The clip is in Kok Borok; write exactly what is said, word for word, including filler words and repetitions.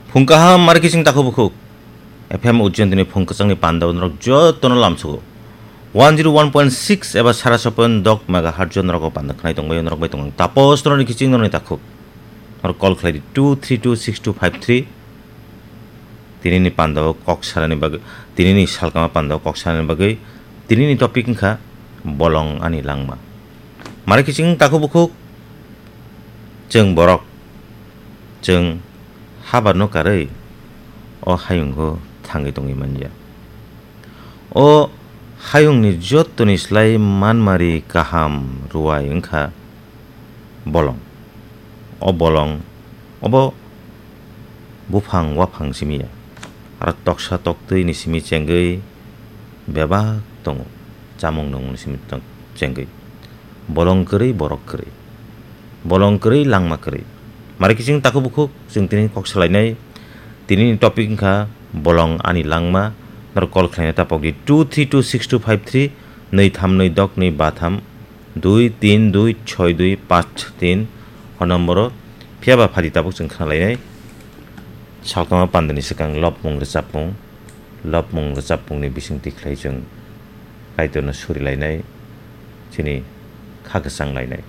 Phung kaham, mari kiching takhuk bukhuk. F M Ujjayantini phung kwchangni panda o norok jotono lamsugo. One zero one point six eba sara sapan dok megahertz o norok o panda khnai tongbai, norok bai tongo. Tapos norokni kiching norokni takhuk. Norok call khlai di two three two six two five three. Tinini panda o kok sanani bagwi, tinini salkama panda o kok sanani bagwi, tinini topic wngkha bolong ani langma. Mari kiching takhuk bukhuk, chwng borok, chwng habarno karwi o hayungo thangwi tongwi manya. O hayungni jottoni slai manmari kaham ruwai wngkha bolong. O bolong obo buphang waphang simi ya. Aro toksa toktwini simi chengwi bebak tongo. Chamung nungmungni simi tong-, chengwi. Bolong kwrwi, borok kwrwi. Bolong kwrwi, langma kwrwi. Mari kiching takhuk bukhuk, chwng tini kok salainai. Tinini topic wngkha bolong ani langma. Norok call khlaina tapok di two three two six two five three, nwi tham nwi dok nwi ba tham, dui tin dui choi dui panch tin, o nomboro. Phiya ba phadi tabuk chwng khna lainai. Salkama pandani swkang lobmung rwchapmung, lobmung rwchapmungni bisingtwi khlai chwng Kaitorno suri lainai, chini kha kwchang lainai.